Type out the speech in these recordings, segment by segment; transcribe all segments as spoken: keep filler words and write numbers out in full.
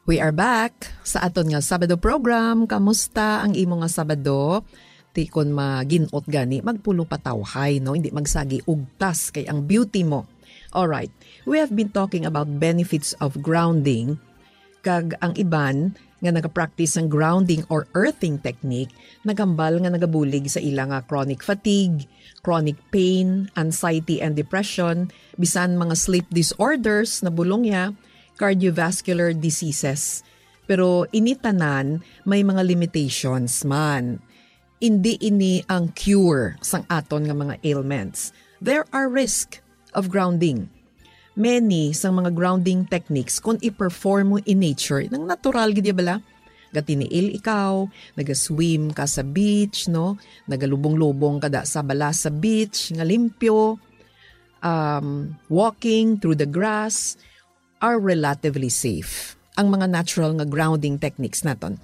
We are back sa aton nga Sabado program. Kamusta ang imo nga Sabado? Ti kon maginot gani, magpulo pa tawhay, no? Hindi magsagi ugtas kay ang beauty mo. All right. We have been talking about benefits of grounding, kag ang iban nga nagapractice sang grounding or earthing technique nagambal nga nagabulig sa ila nga chronic fatigue, chronic pain, anxiety and depression, bisan mga sleep disorders na bulong ya, cardiovascular diseases. Pero ini tanan may mga limitations man. Indi ini ang cure sang aton nga mga ailments. There are risk of grounding. Many sang mga grounding techniques, kung i-perform mo in nature, nang natural gid ya bala. Gatiniil ikaw, naga-swim ka sa beach, no? Nagalubong-lubong ka da sa bala sa beach nga limpyo, um, walking through the grass, are relatively safe. Ang mga natural nga grounding techniques naton.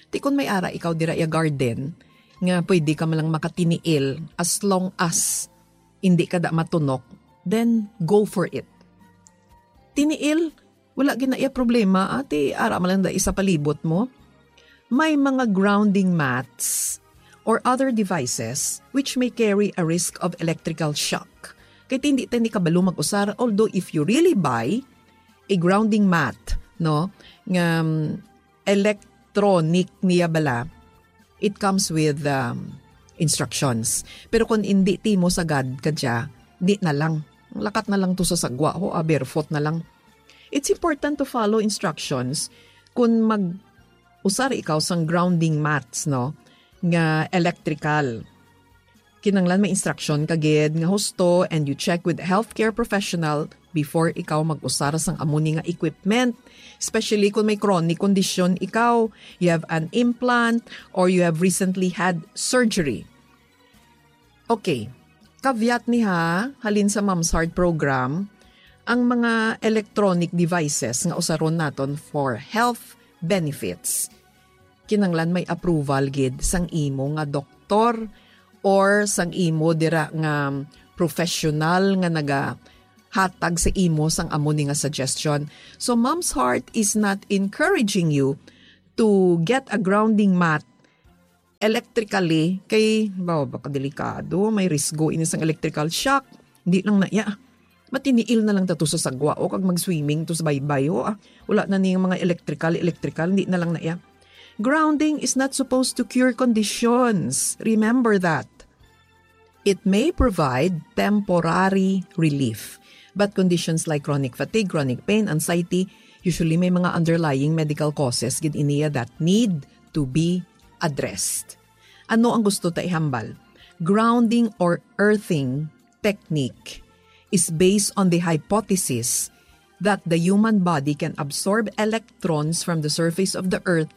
Ti kon may ara ikaw dira ya garden nga pwede ka man lang makatiniil, as long as hindi ka da matunok, then go for it. Tiniil, wala gid na iya problema, ati ara man lang da isa palibot mo. May mga grounding mats or other devices which may carry a risk of electrical shock. Kay ti hindi ta ni kabalo mag-usar, although if you really buy a grounding mat, no, nga, um, electronic niya bala, it comes with, um, instructions. Pero kung hindi ti mo sagad ka dya, di na lang. Lakat na lang to sa sagwa, ho, ah, barefoot na lang. It's important to follow instructions kung mag-usar ikaw sang grounding mats, no, nga electrical. Kinahanglan may instruction ka gid nga husto, and you check with healthcare professional before ikaw mag-usar sang amo ni nga equipment. Especially kung may chronic condition ikaw, you have an implant, or you have recently had surgery. Okay, caveat ni ha, halin sa Mom's Heart program, ang mga electronic devices nga usaron naton for health benefits, kinahanglan may approval gid sang imo nga doktor or sang imo dira nga professional nga nagahatag sa imo sang amo ni nga suggestion. So, Mom's Heart is not encouraging you to get a grounding mat electrically kay, bawa, baka delikado, may risgo ini sang electrical shock. Di lang na iya. Matiniil na lang ta to sa sagwa, o, kag mag-swimming to sa baybay, o, ah. Wala na ning mga electrical, electrical, hindi na lang na iya. Grounding is not supposed to cure conditions. Remember that. It may provide temporary relief, but conditions like chronic fatigue, chronic pain, anxiety, usually may mga underlying medical causes gid iniya that need to be addressed. Ano ang gusto ta ihambal? Grounding or earthing technique is based on the hypothesis that the human body can absorb electrons from the surface of the earth,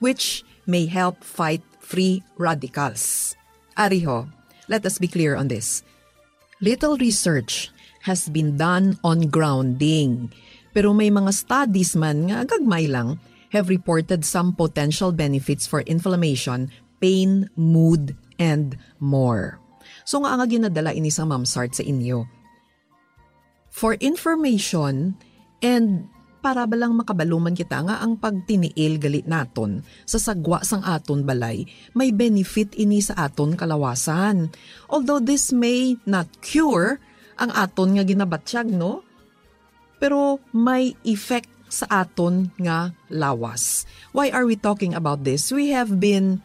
which may help fight free radicals. Ariho, let us be clear on this. Little research has been done on grounding, pero may mga studies man nga gagmay lang have reported some potential benefits for inflammation, pain, mood, and more. So, nga nga ginadala ini sa Mom's Heart sa inyo? For information and para ba lang makabalo man kita nga ang pagtiniil gali naton sa sagwa sang aton balay, may benefit ini sa aton kalawasan. Although this may not cure ang aton nga ginabatyag, no? Pero may effect sa aton nga lawas. Why are we talking about this? We have been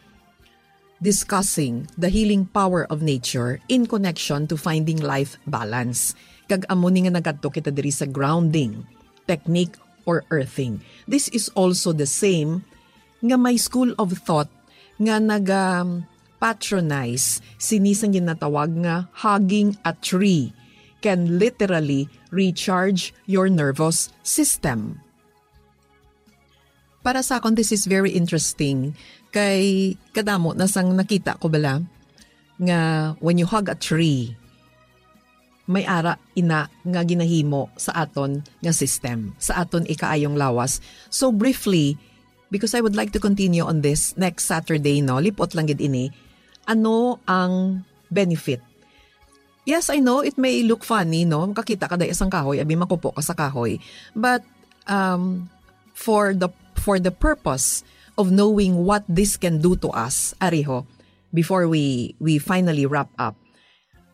discussing the healing power of nature in connection to finding life balance. Kag amo ni nga nagadto kita diri sa grounding technique or earthing. This is also the same nga may school of thought nga naga patronize sini sang ginatawag nga hugging a tree can literally recharge your nervous system. Para sa akon, this is very interesting. Kay kadamo na sang nakita ko bala nga when you hug a tree, may ara ina nga ginahimo sa aton nga system, sa aton ikaayong lawas. So briefly, because I would like to continue on this next Saturday, no, lipot lang gid ini, ano ang benefit? Yes, I know, it may look funny, no? Makakita ka dahil isang kahoy, abi makupo ka sa kahoy. But, um, for the for the purpose of knowing what this can do to us, ariho, before we, we finally wrap up,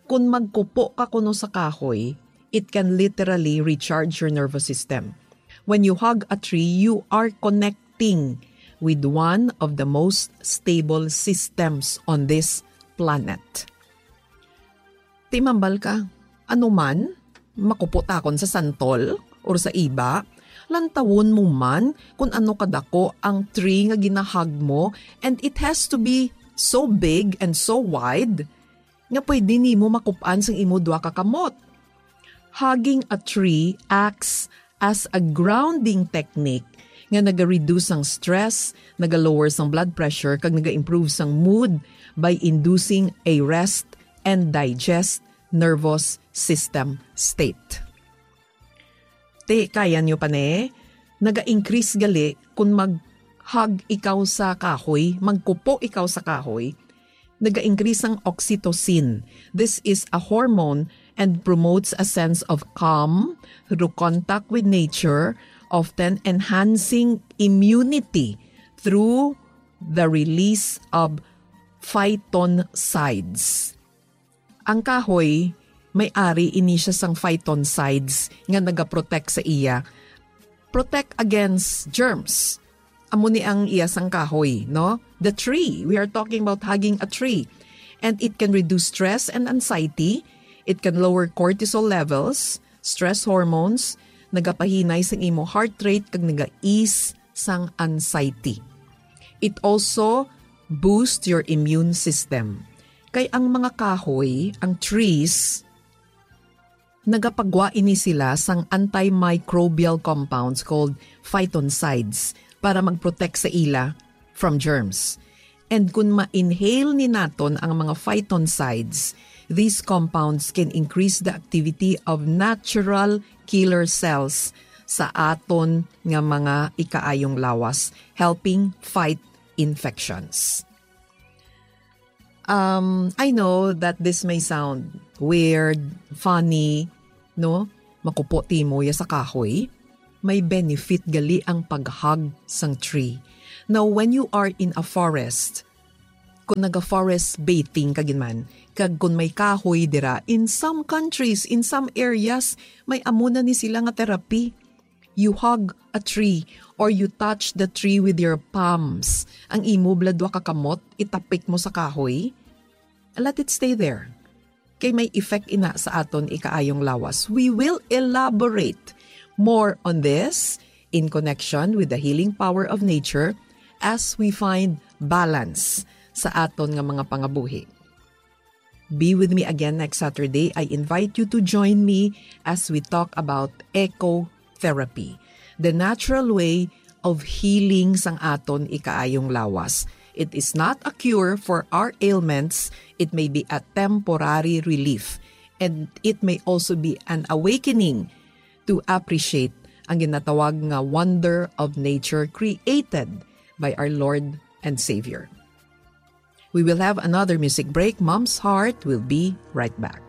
kung magkupo ka kuno sa kahoy, it can literally recharge your nervous system. When you hug a tree, you are connecting with one of the most stable systems on this planet. Timambal ka, ano man, makupo takon sa santol or sa iba, lantawon mo man kung ano kadako ang tree nga ginahag mo, and it has to be so big and so wide nga pwede nimo makup-an sang imo duha ka kamot. Hugging a tree acts as a grounding technique nga naga-reduce sang stress, naga-lower sang blood pressure, kag naga-improve sang mood by inducing a rest and digest nervous system state. Te, kaya nyo pa ne? Naga-increase gali kung mag-hug ikaw sa kahoy, magkupo ikaw sa kahoy, naga-increase ang oxytocin. This is a hormone and promotes a sense of calm through contact with nature, often enhancing immunity through the release of phytoncides. Ang kahoy, may ari ini siya sang phytoncides nga nagaprotect sa iya. Protect against germs. Amo ni ang iya sang kahoy, no? The tree. We are talking about hugging a tree. And it can reduce stress and anxiety. It can lower cortisol levels, stress hormones, nagapahinay sang imo heart rate, kag naga-ease sang anxiety. It also boosts your immune system. Kay ang mga kahoy, ang trees, nagapagwa ini sila sang antimicrobial compounds called phytoncides para mag-protect sa ila from germs. And kung ma-inhale ni naton ang mga phytoncides, these compounds can increase the activity of natural killer cells sa aton nga mga ikaayong lawas, helping fight infections. Um, I know that this may sound weird, funny, no? Makupo timo ya sa kahoy. May benefit gali ang pag-hug sang tree. Now, when you are in a forest, kung naga-forest bathing ka gid man, kag kung may kahoy dira, in some countries, in some areas, may amo na ni sila nga therapy. You hug a tree or you touch the tree with your palms. Ang imo bala duha ka kamot, itapik mo sa kahoy. Let it stay there. Kay may effect ina sa aton ikaayong lawas. We will elaborate more on this in connection with the healing power of nature as we find balance sa aton nga mga pangabuhi. Be with me again next Saturday. I invite you to join me as we talk about ecotherapy, the natural way of healing sang aton ikaayong lawas. It is not a cure for our ailments. It may be a temporary relief, and it may also be an awakening to appreciate ang ginatawag nga wonder of nature created by our Lord and Savior. We will have another music break. Mom's Heart will be right back.